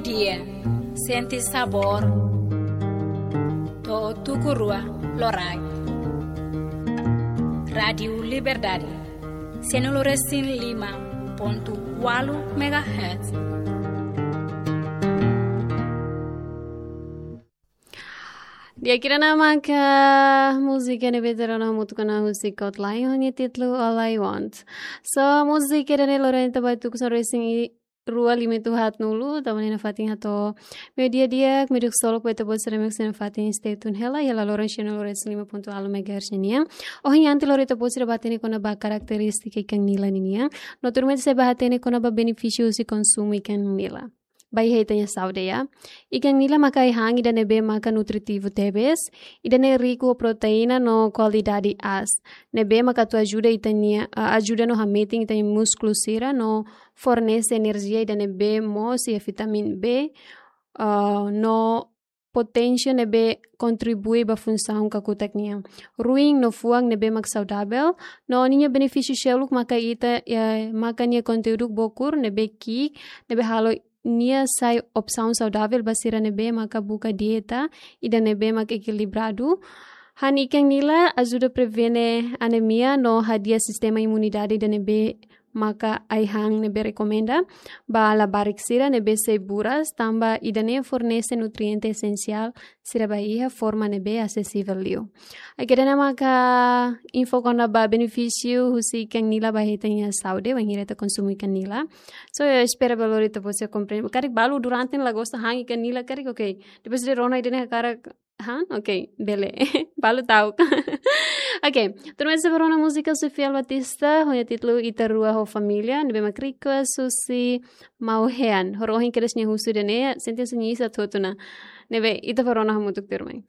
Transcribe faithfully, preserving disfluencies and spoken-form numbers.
Kie, sente sabór to'o tuku rua loraik. Rádiu Liberdade, cento e cinco e cinco ponto oito megahertz. Di'ak, ida-ne'e maka múzika ne'ebé ita rona hamutuk ona husi Kot Lion ho nia títulu All I Want. So, múzika ida-ne'e lorenta bai tuku sanulu-resin-rua limitu haat-nulu, tanba ne'e nafatin hato'o meiudia di'ak, meiudia ksolok ba ita-boot sira mak sei nafatin stay tune hela, iha la loron sanulu-resin-lima ponto ualu megahertz nian. Ohin antes lori ita-boot sira bá hatene kona-ba karakterístika ikan nila ninian. No tuirmai ita sei bá hatene kona-ba benefísiu husi konsumu ikan nila ba iha ita-nia saúde, ya. Ikan nila maka ai-han ida ne'ebé maka nutritivu tebes, ida-ne'e riku ho proteína no kualidade aas, ne'ebé maka atu ajuda ita-nia, ah, ajuda no hametin ita-nia múskulu sira no fornese enerjia ida ne'ebé moos iha vitamina B, ah, no potásiu ne'ebé kontribui ba funsaun kakutak nian. Ruin no fuan ne'ebé mak saudavel, no ninia benefísiu seluk maka ita, eh, maka nia konteúdu bokur ne'ebé ki'ik, ne'ebé halo nia sai opsaun saudavel ba sira ne'ebé maka buka dieta ida ne'ebé mak ekilibradu. Han ikan nila ajuda prevene anemia no hadi'a sistema imunidade ida ne'ebé maka ai-han ne'ebé rekomenda ba labarik sira ne'ebé sei buras, tanba ida-ne'e fornese nutriente esensiál sira ba iha forma ne'ebé asesivel liu. Oke, ida-ne'e maka info kona-ba benefísiu husi ikan nila ba iha ita-nia saúde, wainhira ita konsumu ikan nila. So, eu espero ba lori ita-boot sira komprende. Karik balu durante ne'e la gosta han ikan nila, karik, oke. Depois de rona ida-ne'e hakarak han, oke, bele. Balu ta'uk. Oke, tuirmai ita sei bá rona múzika husi Fiel Batista, ho nia títulu Ita Rua ho Família, ne'ebé mak request husi Mau Hean. Horibainhira nia husu ida-ne'e, sente hanesan nia iis atu hotu ona. Ne'ebé, ita bá rona hamutuk tuirmai.